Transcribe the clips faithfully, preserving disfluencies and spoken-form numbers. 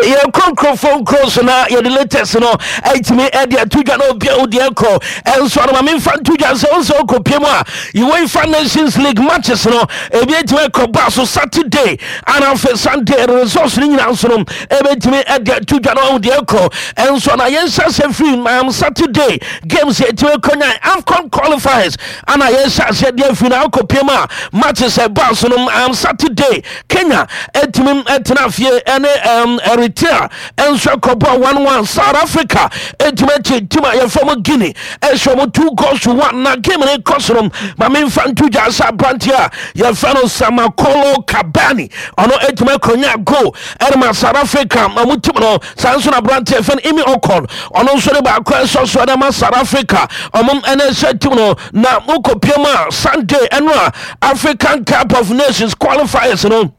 Yɛkɔ nkurɔfoɔ nkuro so na yɛde latest no ɛtumi ɛde ato dwa na obia wodeɛ kɔ. Ɛnso ano ma memfa nto dwa sɛ wo sɛ wokɔpie mu a, UEFA Nations League matches no ebi ɛtumi ɛkɔ ba so Saturday ana afei Sunday. Results no nyinaa nso no ɛbɛtumi ɛde ato dwa na wodeɛ kɔ. Ɛnso na yɛnhyɛ sɛ firi um, Saturday games yɛtumi kɔnya AFCON qualifiers ana yɛhyɛ aseɛ deɛ afiri na wokɔpie mu a, matches ɛba so no um, Saturday, Kenya ɛtumi ɛtena fie ɛne um, Eritrea ɛnso ɛkɔbɔ one one. South Africa ɛtumi akyi team a yɛfrɛ mo Guinea, ɛhyɛ mo two goals to one. Na game no kɔ so no, ma memfa nto dwa sɛ aberanteɛ a yɛfrɛ no Samakollo Kabani, ɔno ɛtumi akɔnya goal ɛne South Africa ɔmo team no. Saa nso na aberanteɛ yɛfrɛ no Emi Okon, ɔno nso de baako ɛsɔ so ɛde ma South Africa ɔmo ɛne ɛhyɛ team no. Na wokɔpie mu a, Sunday ɛno a African Cup of Nations qualifiers no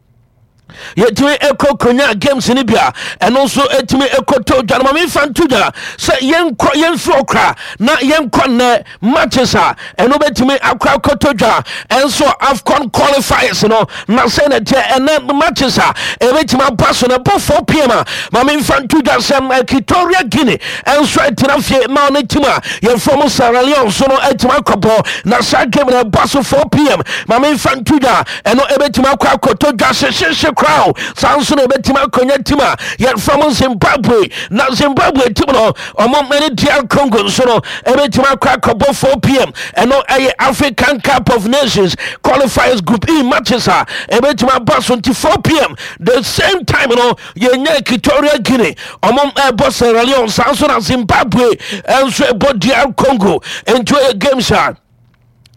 yɛtumi ɛkɔ konya games no bi a, ɛno nso ɛtumi ɛkɔtɔ dwa no. Ma memfa nto dwa sɛ yɛnkɔ, yɛmfiri ɔkora na yɛnkɔ nnɛ matches a ɛno bɛtumi akɔ akɔtɔ dwa ɛnso AFCON qualifiers no. Na sɛ na ɛteɛ, ɛnɛ matches a ɛbɛtumi aba so no, ɛbɔ four p m a, ma memfa nto dwa sɛ Equatorial Guinea ɛnso ɛtena fie ma ɔne team a yɛfrɛ mo Sierra Leone so no ɛtumi akɔbɔ. Na saa game no ɛba so four p m. Ma memfa nto dwa, ɛno ɛbɛtumi akɔ akɔtɔ dwa hyehyehye koraa. Saa nso na ɛbɛtumi akɔnya team a yɛfrɛ mo Zimbabwe, na Zimbabwe team no ɔmo ɛne D R Congo nso no ɛbɛtumi akɔ akɔbɔ four p m. Ɛno ɛyɛ African Cup of Nations qualifiers Group E matches a ɛbɛtumi aba so. Nti four p m the same time no, yɛnya Equatorial Guinea ɔmo ɛbɔ Sierra Leone, saa nso na Zimbabwe ɛnso ɛbɔ D R Congo. Nti ɛyɛ games a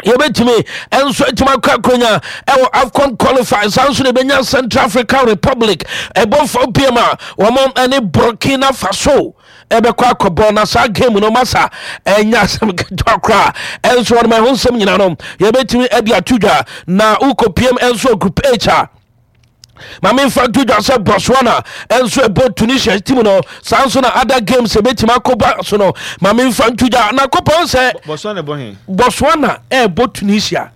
yɛbɛtumi ɛnso atumi akɔ akɔnya ɛwɔ AFCON qualify. Saa nso na ɛbɛnya Central African Republic ɛbɔ four p m a, wɔn ɛne Burkina Faso ɛbɛkɔ akɔbɔ. Na saa game no masa ɛnya asɛm ketewa koraa. Ɛnso wɔn ɛho nsɛm nyinaa no yɛbɛtumi ɛde ato dwa. Na wokɔpiem ɛnso Group H a, maame nfa nto dwa sɛ Botswana ɛnso ɛbɔ Tunisia team no. Saa nso na other games ɛbɛtumi akɔba so no, maame nfa nto dwa na kɔpɔn sɛ Botswana bɔ he? Botswana ɛɛbɔ Tunisia.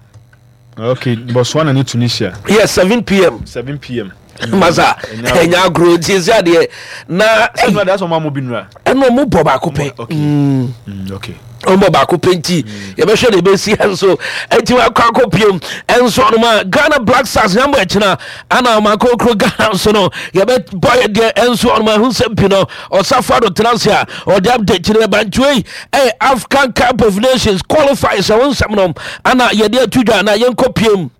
Okay, Botswana ne Tunisia. Yes, seven p m. seven p m. Masa, ɛnya agorɔ nti ɛsɛ adeɛ na ɛnu adi asɔ ɔmo amu bi nura. Ɛna ɔmo bɔ baako pɛ. Okay. Mm, okay. Ɔmbɔ baako pɛ nti yɛbɛhwɛ de ɛbɛsi. Ɛnso ɛnti wakɔ akɔ piem ɛnso ɔnom a Ghana Black Stars nyambɔ ɛkyena ana ɔmakɔkuro Ghana nso no yɛbɛbɔ yɛ deɛ. Ɛnso ɔnom ahu sɛ pi no ɔsafo ado tena ase a ɔde update no bɛba. Nti wei ɛyɛ African Cup of Nations qualifiers ɛho nsɛm no ana yɛde ato dwa. Na yɛnkɔ piem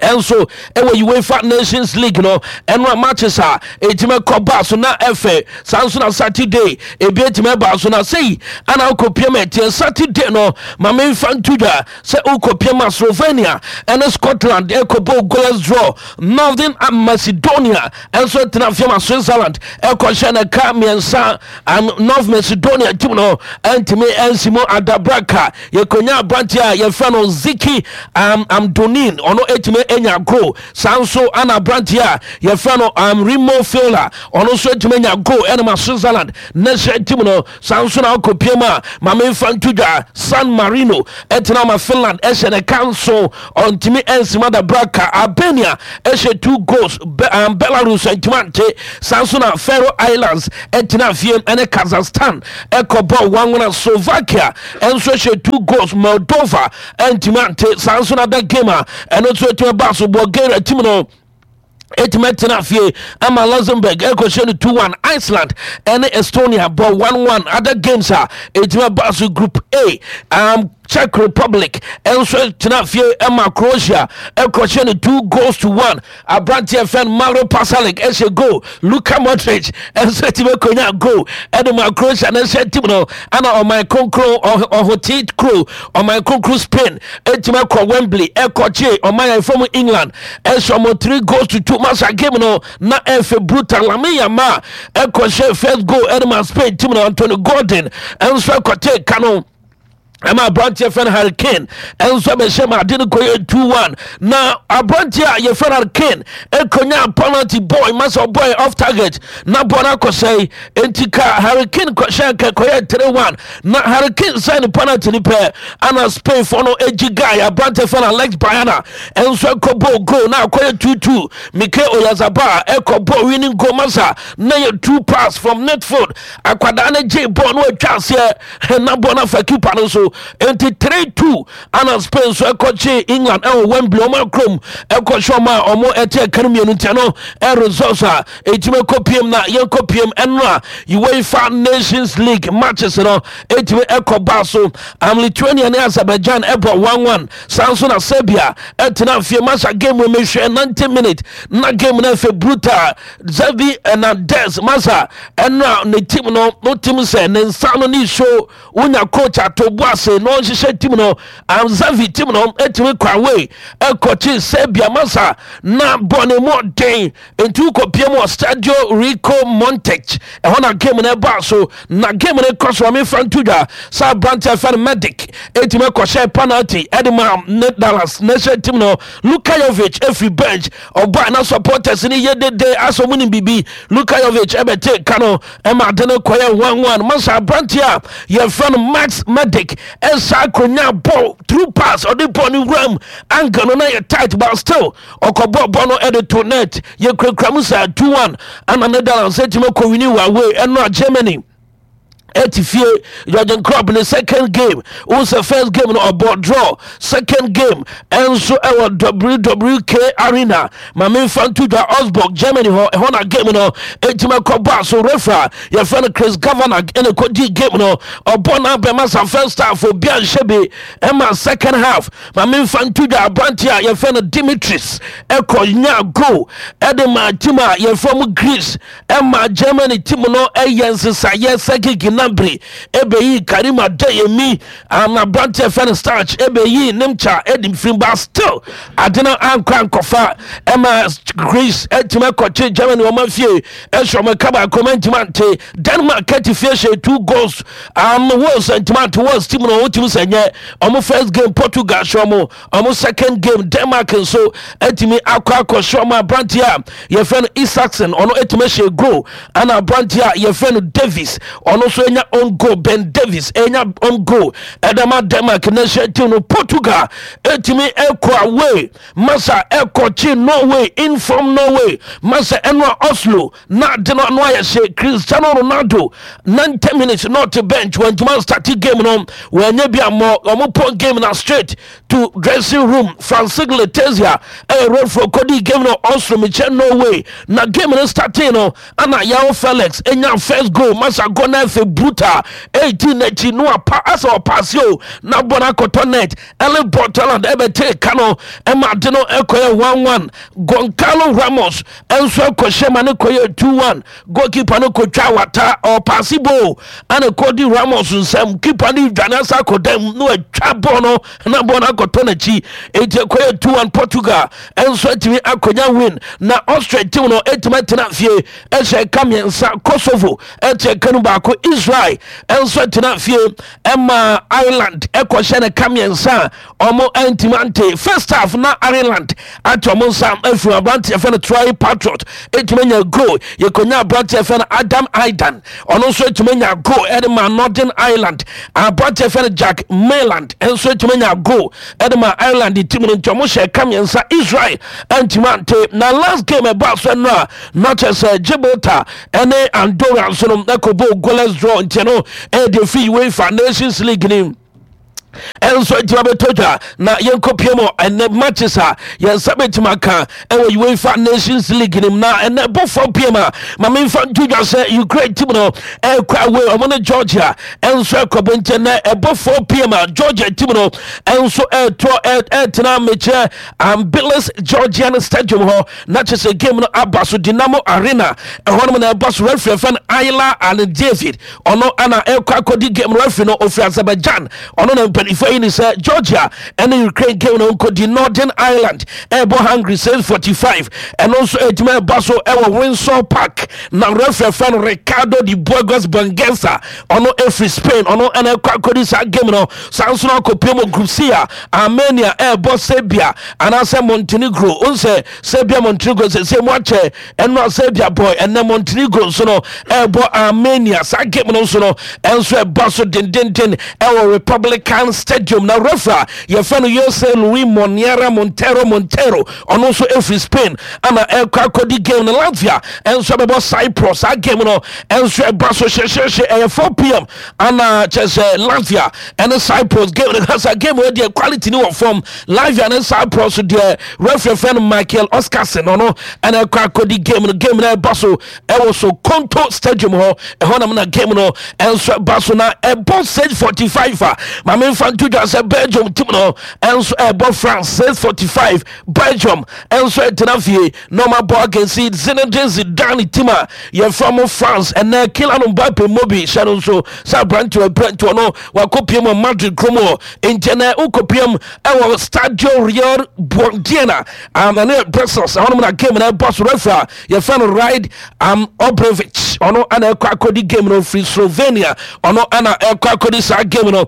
ɛnso ɛwɔ UEFA Nations League no, ɛno a matches a ɛtumi kɔ baa so na ɛfɛ. Saa nso na Saturday ebi ɛtumi ɛbaa so na sei ana wokɔpiem ɛteɛ. Saturday no, ma memfa nto dwa sɛ wokɔpiem a, Slovenia ɛne Scotland ɛkɔbɔ goalless draw. Northern Macedonia ɛnso tena fie ma Switzerland ɛkɔhyɛ no ka mmiɛnsa. um, north Macedonia team no ɛntumi ɛnsi mu adabraka. Yɛkɔnya aberanteɛ a yɛfrɛ no Zeki um, Amdouni, ɔno ɛtumi anya goal. Saa nso ana aberanteɛ a yɛfrɛ no um, Remo Freuler, ɔno nso ɛtumi anya goal ɛne ma Switzerland national team no. Saa nso na wokɔpie mu a, ma memfa nto dwa, San Marino ɛtena ma Finland ɛhyɛ ne ka nso ɔntumi ɛnsi mu adabraka. Albania ɛhyɛ two goals. Be, um, belarus ɛntumi ante. Saa nso na Faroe Islands ɛtena fie ɛne Kazakhstan ɛkɔbɔ one one. Slovakia ɛnso hyɛ two goals, Moldova ɛntumi ante. Saa nso na da game a ɛno nso ɛtumi ba so, Bulgaria team no ɛtumi tena fie ama Luxembourg ɛkɔhyɛ no two one. Iceland ɛne Estonia bɔ one one. Other games a ɛtumi ba so, Group A, um, Czech Republic ɛnso tena fie ɛma Croatia ɛkɔhyɛ no two goals to one. Aberanteɛ fɛn Mario Pasalic ɛhyɛ goal, Luka Modric ɛnso ɛtumi akɔnya goal ɛde ma Croatia ne nhyɛ team no. Ana ɔman kronkron ɔhote kuro, ɔman kronkron Spain ɛtumi akɔ Wembley ɛkɔkye ɔman yɛn fam England, ɛhyɛ ɔmo three goals to two. Masa, game no na ɛfɛ brutal. Lamine Yamal ɛkɔhyɛ first goal ɛde ma Spain team no. Anthony Gordon ɛnso ɛkɔte ka no. Ɛma aberanteɛ fɛ no Harry Kane ɛnso bɛhyɛ ma ade no kɔyɛ two one. Na aberanteɛ a yɛfrɛ no Harry Kane ɛkɔnya penalty boy masa boy off target na bɔ no akɔsɛe. Enti ka Harry Kane kɔhyɛ nka kɔyɛ three one. Na Harry Kane sɛ ne penalty no pɛ ana Spain foɔ no agyi guy aberanteɛ fɛ no Alex Baena ɛnso ɛkɔbɔ goal na akɔyɛ two two. Mikel Oyarzabal ɛkɔbɔ winning goal masa na yɛ two pass from midfield. Akwadaa no gye bɔɔl no atwa aseɛ na bɔɔl no afa keeper no so, nti three two ana Spain nso ɛkɔkye England ɛwɔ Wembley, ɔmo akurom ɛkɔhyɛ ɔmo a ɔmo ɛte ɛka no mmienu. Ntia no ɛresults a ɛtumi ɛkɔ piem na yɛnkɔ piem ɛno a UEFA Nations League matches no ɛtumi ɛkɔ baa so. um, Lithuania ne Azerbaijan ɛbɔ one one. Saa nso na Serbia ɛtena fie masa game mu mehwɛ ninety minute na game no ɛfɛ brutal. Xavi Hernandez masa ɛno a ne team no no team sɛ ne nsa no ne show wonya coach ato bo ase na ɔnhyehyɛ team no. um, Xavi team no ɛtumi kɔ away ɛkɔkye Serbia masa na bɔ ne mu ɔden. Nti wokɔpie mu wɔ Stadio Rico Montech ɛhɔ na game no ɛbaa so. Na game no kɔ so, ɔmefa nto dwa sɛ aberante ɛfɛ no Medic ɛtumi kɔhyɛ penalty ɛde ma Netherlands national team no. Luka Jovic ɛfiri bench ɔbaa na supporters no yɛ dede asɛ ɔmo nim biribi. Luka Jovic ɛbɛte ka no ɛma ade no kɔyɛ one one. Masa aberante a yɛfrɛ no Max Medic ɛsa akonnwa ball through pass, ɔde ball no wuram, angle no na yɛ tight but still ɔkɔbɔ bɔ no ɛde to net. Yɛkurakura mu sɛ two one ana Netherlands ɛtumi kɔ win wɔ away. Ɛno a Germany ɛti fie, Jurgen Klopp ne second game wo sɛ first game no ɔbɔ draw, second game ɛnso ɛwɔ W W K Arena, ma memfa nto dwa, Augsburg, Germany hɔ. Ɛhɔ na game no ɛtumi kɔbɔ so. Referee yɛfrɛ no Chris Kavanagh ɛne kɔdi game no. Ɔbɔ no abɛma sa first half obi anhyɛ bi. Ɛma second half, ma memfa nto dwa, aberante a yɛfrɛ no Dimitris ɛkɔ nya goal ɛde ma team a yɛfrɛ mu Greece. Ɛma Germany team no ɛyɛ nsesayɛ. Serge Gnabry ɛbɛyi Karim Adeyemi ana aberante ɛfɛ no Starch ɛbɛyi Nimcha ɛde mfiri ba. Still ade no ankɔ ankɔfa. Ɛma Greece ɛtumi ɛkɔkye Germany wɔn afie ɛhyɛ wɔn ka baako ma ntumi ante. Denmark ɛte fie hyɛ two goals. um, Wales ntumi ante. Wales team no wɔn team sɛ nyɛ wɔn first game Portugal hyɛ wɔn, wɔn second game Denmark nso ɛtumi akɔ akɔhyɛ wɔn. Aberante a yɛfrɛ no Isaksen ɔno ɛtumi ahyɛ goal ɛna aberante a yɛfrɛ no Davis ɔno nso anya own goal. Ben Davis ɛnya own goal ɛdama Denmark national team no. Portugal ɛtumi ɛkɔ away masa ɛkɔkye Norway, in from Norway masa ɛno a Oslo na ade no ano ayɛ hye. Cristiano Ronaldo ninety minutes not bench, wɔntuma start game no, wɔanya bi ammɔ. Ɔmo pɔn game na straight to dressing room. Francis Letezia ɛyɛ referee kɔdi game no Oslo mekyɛ Norway. Na game no starting no ana João Felix enya first goal masa goal na ɛfɛ brutal, eighteen n'akyi no apa asɛ ɔpaase o na bɔ no akɔtɔ net. Erling Haaland ɛbɛte ka no ɛma ade no ɛkɔyɛ one one. Goncalo Ramos ɛnso ɛkɔhyɛ ma ne kɔyɛ two one. Goalkeeper no kɔtwa wata, ɔpaase ball ana kɔdi Ramos nsɛm, keeper no dwane asa akɔ dam na watwa ball no na ball no akɔtɔ n'akyi. Enti ɛkɔyɛ two one. Portugal ɛnso atumi akɔnya win. Na Austria team no ɛtumi atena fie ɛhyɛ ka mmiɛnsa. Kosovo ɛte ɛka no baako. Israel ɛnso atena fie ɛma Ireland ɛkɔhyɛ ne ka mmiɛnsa a ɔmo ɛntumi ante. First half na Ireland ate ɔmo nsa afiri aberanteɛ fɛ no Troy Patriot ɛtumi anya goal. Yɛkɔnya aberanteɛ fɛ no Adam Aidan, ɔno nso ɛtumi anya goal ɛde ma Northern Ireland. Aberanteɛ fɛ no Jack Mayland ɛnso ɛtumi anya goal ɛde ma Ireland team no. Nti ɔmo hyɛ ka mmiɛnsa, Israel ɛntumi ante. Na last game ɛbaa so no a na kyerɛ sɛ Gibraltar ɛne Andorra nso no ɛkɔbɔ goalless draw. Nti no ɛyɛ firi UEFA Nations League ni ɛnso atumi abɛtɔ dwa. Na yɛnkɔpie mu ɛnɛ matches a yɛnsa bɛtumi aka ɛwɔ UEFA Nations League nim. Na ɛnɛ bɔfoɔ piem a, ma memfa nto dwa sɛ Ukraine team no ɛkɔ away, ɔmo ne Georgia ɛnso ɛkɔbɔ. Nkyɛn nɛ ɛbɔ four P M a Georgia team no ɛnso ɛtoɔ ɛtena mekyerɛ Tbilisi Georgian Stadium hɔ na kyerɛ sɛ game no aba so Dinamo Arena ɛhɔ nom na ɛba so. Referee fɛn Ayla and David, ɔno ana ɛkɔ akɔdi game no. Referee no ofiri Azerbaijan, ɔno na mpanimfoɔ Mpanimfoɔ yi ni sɛ Georgia ɛne Ukraine game no nkɔdi. Northern Ireland ɛbɔ Hungary six forty-five. Ɛno nso ɛtumi ɛba so ɛwɔ Windsor Park, na referee fɛ no Ricardo de Burgos Bengoetxea, ɔno ɛfiri Spain, ɔno ɛna ɛkɔ akɔdi saa game no. Saa nso no akɔpie mu Group C a, Armenia ɛɛbɔ Serbia anaasɛ Montenegro. Onsɛ Serbia, Montenegro sɛ sɛ mu akyɛ ɛno a Serbia boy, ɛnɛ Montenegro nso no ɛɛbɔ Armenia. Saa game no nso no ɛnso ɛba so dendenden ɛwɔ Republican Stadium, na referee a yɛfrɛ no Jose Luis Moniera Montero Montero, ɔno nso ɛfiri Spain, ana ɛkɔ akɔdi game no. Latvia ɛnso ɛbɛbɔ Cyprus. Saa game no ɛnso ɛba so hyehyehye, ɛyɛ four p m ana kyerɛ sɛ Latvia ɛne Cyprus game no kasa. Game wɔ deɛ quality ni wɔ fam. Latvia ne Cyprus deɛ, referee fɛ no Michael Oscarson, ɔno ɛna ɛkɔ akɔdi game no. Game no ɛba so ɛwɔ so Konto Stadium hɔ, ɛhɔ nam na game no ɛnso ɛba so, na ɛbɔ six forty-five a maame nfa nto dwa sɛ Belgium team no ɛnso ɛbɔ France six forty-five. Belgium ɛnso ɛtena fie na ɔma bɔ against Zinedine Zidane team a yɛfrɛ mo France. Ɛnɛ Kylian Mbappe mobi hyɛ no nso sɛ aberanteɛ aberanteɛ no wakɔpie mu Madrid kurom hɔ, nti ɛnɛ wokɔpie mu ɛwɔ Stadio Real Buondiana, um, ɛno yɛ Brussels, ɛhɔnom na game no ɛbɔ so. Referee a yɛfrɛ no Rade um, Obrevich, ɔno ana ɛkɔ akɔdi game no firi Slovenia, ɔno ana ɛkɔ akɔdi saa game no.